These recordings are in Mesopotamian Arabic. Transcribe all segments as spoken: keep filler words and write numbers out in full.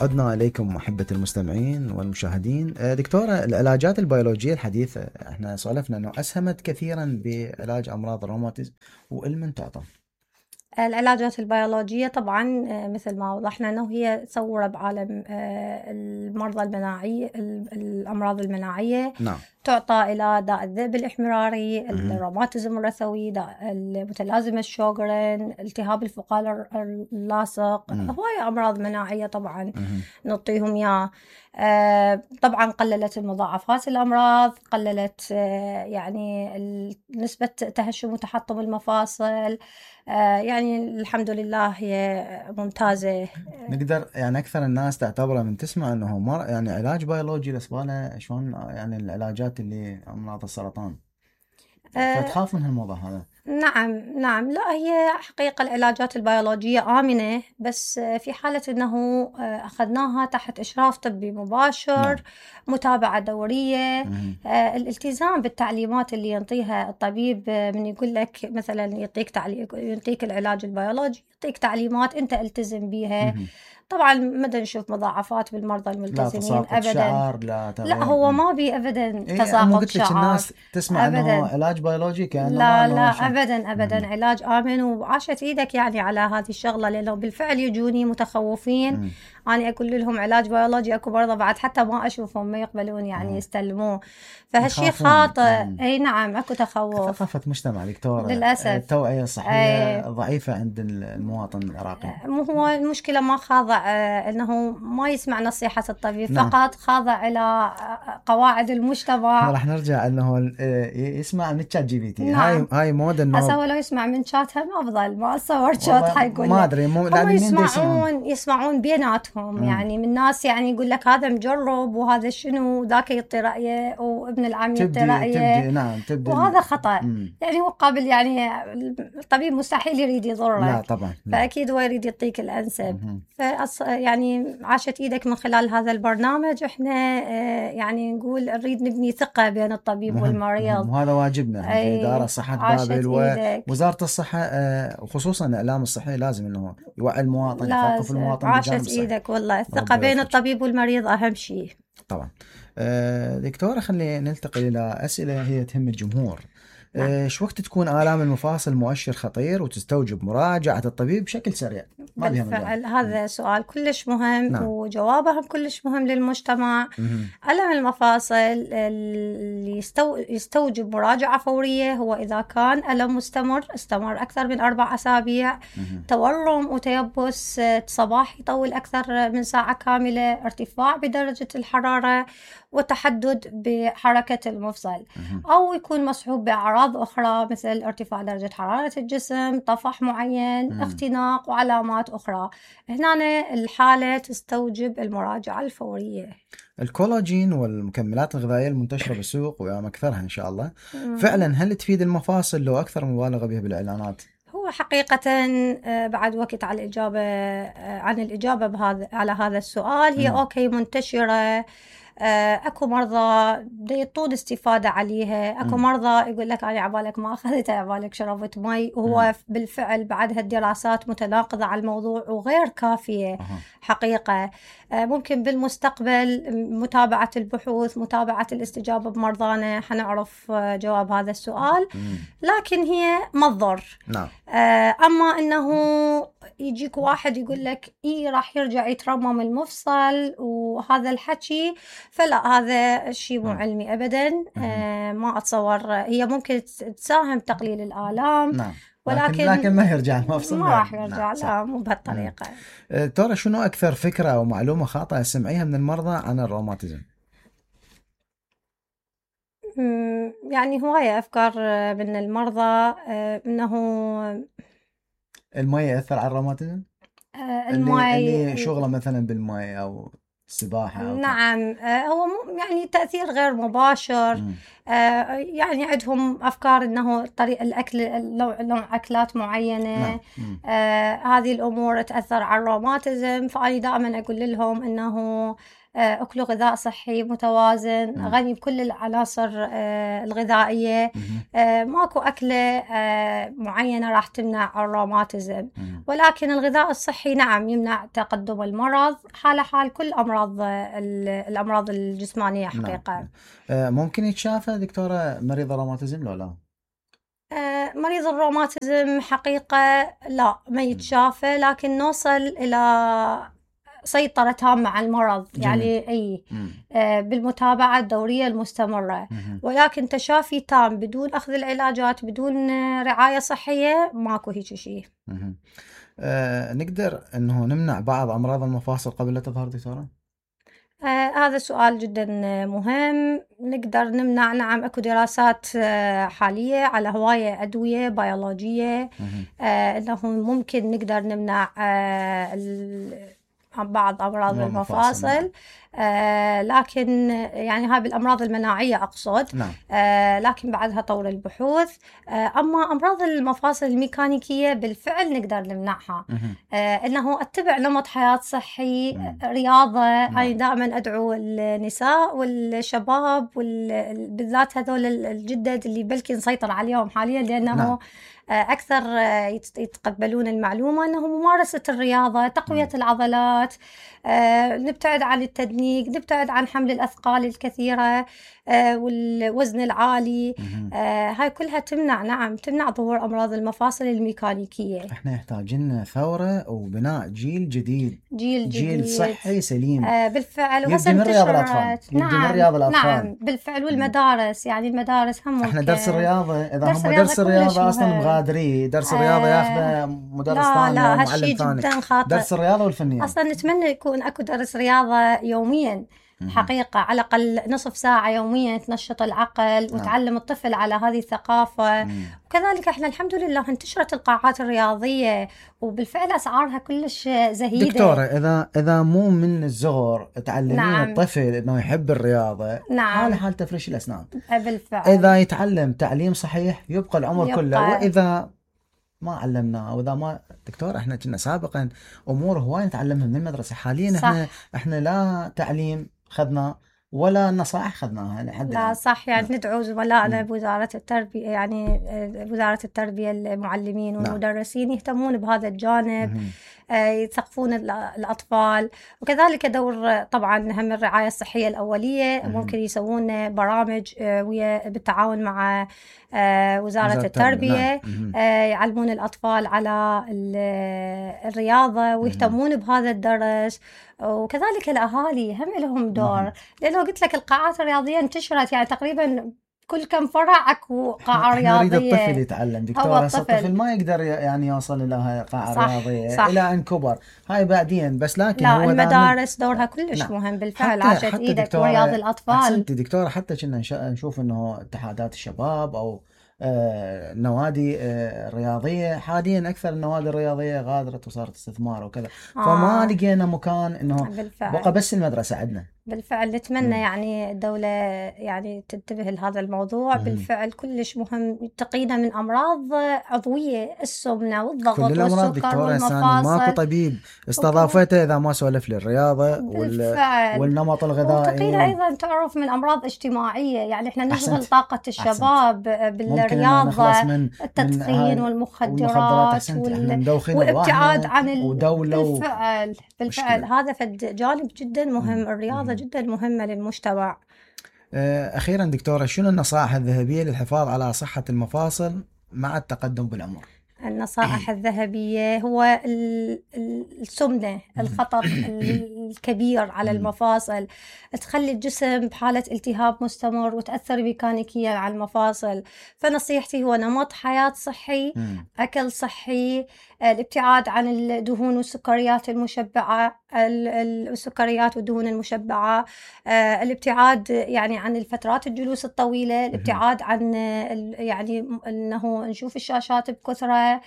عدنا إليكم محبة المستمعين والمشاهدين. دكتورة، العلاجات البيولوجية الحديثة احنا سولفنا أنه أسهمت كثيرا بعلاج أمراض الروماتيزم، وإلمن تعطى العلاجات البيولوجية طبعا مثل ما وضحنا أنه هي ثورة بعالم المرضى المناعية، الأمراض المناعية. نعم. تعطى إلى داء الذئب الإحمراري، الروماتيزم الرثوي، داء المتلازمة الشوغرين، التهاب الفقار اللاصق، هواية أمراض مناعية طبعا نعطيهم إياه. آه طبعا قللت المضاعفات الأمراض، قللت آه يعني نسبة تهشم وتحطم المفاصل. آه يعني الحمد لله هي ممتازة. نقدر يعني أكثر الناس تعتبره من تسمع أنه مر يعني علاج بيولوجي لسبالة شلون يعني العلاجات اللي أمراض السرطان، فتخاف من هالموضوع هذا. نعم نعم لا، هي حقيقة العلاجات البيولوجية آمنة، بس في حالة أنه أخذناها تحت إشراف طبي مباشر. نعم. متابعة دورية. آه الالتزام بالتعليمات اللي ينطيها الطبيب، من يقول لك مثلا يعطيك تعليم يعطيك العلاج البيولوجي، يعطيك تعليمات أنت التزم بيها. مم. طبعا ما نشوف مضاعفات بالمرضى الملتزمين لا ابدا. شعر لا تغيير. لا هو ما بي ابدا إيه تساقط شعر. الناس تسمع أبداً. انه علاج بيولوجي كان لا لا ابدا ابدا. مم. علاج امن، وعاشت ايدك يعني على هذه الشغله، لانه بالفعل يجوني متخوفين. مم. أنا أقول لهم علاج بيولوجي، أكو مرضى بعد حتى ما أشوفهم ما يقبلون يعني. مم. يستلموه، فهالشي خاطئ. أي نعم أكو تخوف. ثقافة مجتمع دكتورة للأسف. التوعية الصحية أي. ضعيفة عند المواطن العراقي. مو هو المشكلة ما خاضع أنه ما يسمع نصيحة الطبيب. نعم. فقط خاضع إلى قواعد المجتمع. راح نرجع أنه يسمع من تشات جي بي تي. نعم. هاي هاي مود إنه أسوى لو يسمع من شات هم أفضل. ما أصور شات حيقول ما أدري مو هم يسمعون يسمعون بيناتهم. مم. يعني من ناس يعني يقول لك هذا مجرب وهذا شنو، ذاك يعطي رأيه وابن العم يعطي رأيه. نعم تبدي وهذا خطأ. مم. يعني هو قابل يعني الطبيب مستحيل يريد يضرك. لا طبعا. فأكيد هو يريد يعطيك الأنسب. فأص... يعني عاشت إيدك من خلال هذا البرنامج. إحنا آه يعني نقول نريد نبني ثقة بين الطبيب مهم. والمريض. وهذا واجبنا في إدارة صحة بابل ووزارة الصحة، آه وخصوصا الإعلام الصحي لازم إنه يوعي المواطن، يثقف المواطن. عاشت إيدك والله. الثقة بين الطبيب والمريض أهم شيء طبعا. آه دكتورة، خلينا نلتقي إلى أسئلة هي تهم الجمهور. نعم. شو وقت تكون آلام المفاصل مؤشر خطير وتستوجب مراجعة الطبيب بشكل سريع؟ ما بالفعل هذا سؤال كلش مهم. نعم. وجوابه كلش مهم للمجتمع. ألم المفاصل اللي يستو... يستوجب مراجعة فورية هو إذا كان ألم مستمر استمر أكثر من أربع أسابيع، تورم وتيبس صباحي يطول أكثر من ساعة كاملة، ارتفاع بدرجة الحرارة، وتحدد بحركة المفصل، أو يكون مصحوب بأعراض أخرى مثل ارتفاع درجة حرارة الجسم، طفح معين، مم. اختناق وعلامات أخرى. هنا الحالة تستوجب المراجعة الفورية. الكولاجين والمكملات الغذائية المنتشرة بالسوق ويا أكثرها إن شاء الله، مم. فعلا هل تفيد المفاصل لو أكثر مبالغة بها بالإعلانات؟ هو حقيقة بعد وقت على الإجابة عن الإجابة بهذا على هذا السؤال. هي مم. أوكي منتشرة. اكو مرضى يطول استفادة عليها، اكو م. مرضى يقول لك انا عبالك ما اخذتها، عبالك شربت مي، وهو م. بالفعل بعد هالدراسات متناقضة على الموضوع وغير كافية. أه. حقيقة ممكن بالمستقبل متابعة البحوث، متابعة الاستجابة بمرضانا حنعرف جواب هذا السؤال. م. لكن هي ما تضر. نعم. اما انه يجيك واحد يقول لك ايه راح يرجع يترمم المفصل وهذا الحكي، فلا هذا الشيء مو علمي ابدا. آه ما اتصور. هي ممكن تساهم تقليل الآلام. نعم. ولكن لكن ما يرجع المفصل. ما راح يرجع. نعم. لا مو بهالطريقة. ترى شنو اكثر فكرة او معلومة خاطئة سمعيها من المرضى عن الروماتيزم؟ يعني هواية افكار من المرضى انه المي يأثر على الروماتيزم. آه المي اللي, اللي شغله مثلا بالمي او السباحة. نعم. هو يعني تأثير غير مباشر. يعني عندهم أفكار أنه طريق الأكل نوع أكلات معينة. آه هذه الأمور تأثر على الروماتيزم. فأنا دائما أقول لهم أنه أكلوا غذاء صحي متوازن مم. غني بكل العناصر آه الغذائية. آه ماكو أكلة آه معينة راح تمنع الروماتيزم، ولكن الغذاء الصحي نعم يمنع تقدم المرض حال حال كل أمراض الأمراض الجسمانية حقيقة. نعم. آه ممكن يتشافى دكتورة مريض الروماتيزم لو لا؟ آه مريض الروماتيزم حقيقة لا ما يتشافى، لكن نوصل إلى سيطرة تامة على المرض. جميل. يعني أي آه بالمتابعة الدورية المستمرة. مم. ولكن تشافي تام بدون أخذ العلاجات بدون رعاية صحية ماكو هيك شيء. آه نقدر أنه نمنع بعض أمراض المفاصل قبل لا تظهر دكتورة؟ آه هذا سؤال جدا مهم. نقدر نمنع، نعم اكو دراسات آه حالية على هواية أدوية بيولوجية آه انه ممكن نقدر نمنع آه بعض أمراض المفاصل. آه لكن يعني هاي بالأمراض المناعية أقصد. نعم. آه لكن بعدها طور البحوث. آه أما أمراض المفاصل الميكانيكية بالفعل نقدر نمنعها. آه إنه أتبع نمط حياة صحي. مم. رياضة. نعم. أنا دائما أدعو النساء والشباب بالذات هذول الجدد اللي بلكي نسيطر عليهم حاليا لأنه نعم. أكثر يتقبلون المعلومة أنه ممارسة الرياضة، تقوية م. العضلات، آه، نبتعد عن التدنيك، نبتعد عن حمل الأثقال الكثيرة آه، والوزن العالي. آه، هاي كلها تمنع، نعم تمنع ظهور أمراض المفاصل الميكانيكية. احنا يحتاجين ثورة وبناء جيل جديد، جيل جديد جيل صحي سليم. آه بالفعل. يبدي من رياض الأطفال. نعم. من رياض الأطفال. نعم بالفعل. والمدارس يعني المدارس هم احنا درس الرياضة إذا درس هم درس الرياضة أصلا مغادري درس الرياضة آه ياخذه مدرس لا ثاني لا أو معلم ثاني. جدا خاطئ. درس الرياضة والفنيات أصلا نتمنى يكون أكو درس رياضة يوميا حقيقة، على الأقل نصف ساعة يوميا تنشط العقل وتعلم الطفل على هذه الثقافة. مم. وكذلك احنا الحمد لله انتشرت القاعات الرياضية وبالفعل أسعارها كلش زهيدة. دكتورة إذا إذا مو من الصغر تعلمين نعم. الطفل إنه يحب الرياضة. نعم. حال حال تفريش الأسنان. بالفعل. إذا يتعلم تعليم صحيح يبقى العمر يبقى. كله. وإذا ما علمناه وإذا ما دكتور احنا كنا سابقا أمور هواي نتعلمها من المدرسة. حاليا صح. احنا احنا لا تعليم خذنا ولا نصائح خذناها لحد لا صح. يعني لا. ندعو زملائنا بوزارة التربية، يعني وزارة التربية المعلمين والمدرسين يهتمون بهذا الجانب، يثقفون الأطفال. وكذلك دور طبعا هم الرعاية الصحية الأولية. ممكن يسوون برامج ويا بالتعاون مع وزارة التربية يعلمون الأطفال على الرياضة ويهتمون بهذا الدرس. وكذلك الأهالي هم لهم دور، لأنه قلت لك القاعات الرياضية انتشرت يعني تقريبا كل كم فرع اكو قاعة رياضية. نريد الطفل يتعلم دكتورة. الطفل ما يقدر يعني يوصل إلى قاعة صح رياضية صح. إلى أن كبر هاي بعدين بس. لكن لا هو المدارس دورها كلش نعم. مهم بالفعل. عاشت إيدك ورياض الأطفال. أحسنتي دكتورة. حتى كنا نشوف إنه اتحادات الشباب أو آه نوادي آه رياضية حاليا أكثر النوادي الرياضية غادرت وصارت استثمار وكذا. آه. فما لقينا مكان إنه بالفعل. بقى بس المدرسة عندنا. بالفعل نتمنى مم. يعني الدولة يعني تنتبه لهذا الموضوع. مم. بالفعل كلش مهم تقينا من أمراض عضوية، السمنة والضغط والسكر والمفاصل. ماكو طبيب استضافته إذا ما سولف للرياضة والنمط الغذائي. وتقينا أيضا تعرف من أمراض اجتماعية. يعني إحنا نشغل طاقة الشباب بالرياضة، من التدخين من والمخدرات وال... والابتعاد عن ال... بالفعل بالفعل هذا فد جانب جدا مهم. مم. الرياضة مم. جدا مهمة للمجتمع. أخيرا دكتورة شنو النصائح الذهبية للحفاظ على صحة المفاصل مع التقدم بالعمر؟ النصائح الذهبية هو السمنة، الخطر الكبير على المفاصل، تخلي الجسم بحالة التهاب مستمر وتأثر ميكانيكيا على المفاصل. فنصيحتي هو نمط حياة صحي، أكل صحي، الابتعاد عن الدهون والسكريات المشبعة، السكريات والدهون المشبعة، الابتعاد يعني عن الفترات الجلوس الطويلة، الابتعاد عن يعني أنه نشوف الشاشات بكثرة،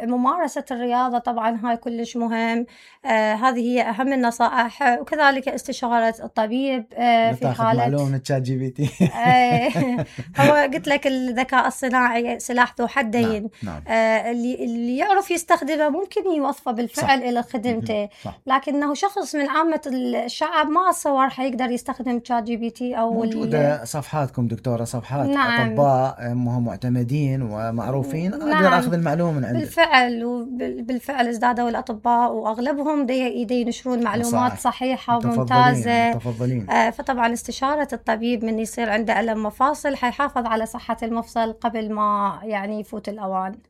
ممارسة الرياضة طبعا هاي كلش مهم. هذه هي أهم النصائح، وكذلك استشارة الطبيب في حالة معلومة من تشات جي بي تي. هو قلت لك الذكاء الصناعي سلاح ذو حدين. نعم. نعم. اللي اللي يعرف يستخدمه ممكن يوظفه بالفعل إلى خدمته، لكنه شخص من عامة الشعب ما أتصور حيقدر يستخدم تشات جي بي تي أو موجودة صفحاتكم دكتورة، صفحات نعم. أطباء هم معتمدين ومعروفين. نعم. أقدر أخذ المعلومة من عندك. بالفعل وبالفعل ازدادوا الأطباء وأغلبهم دي, دي ينشرون معلومات صح. صحيحة وممتازة. متفضلين. آه فطبعا استشارة الطبيب من يصير عنده ألم مفاصل حيحافظ على صحة المفصل قبل ما يعني يفوت الأوان.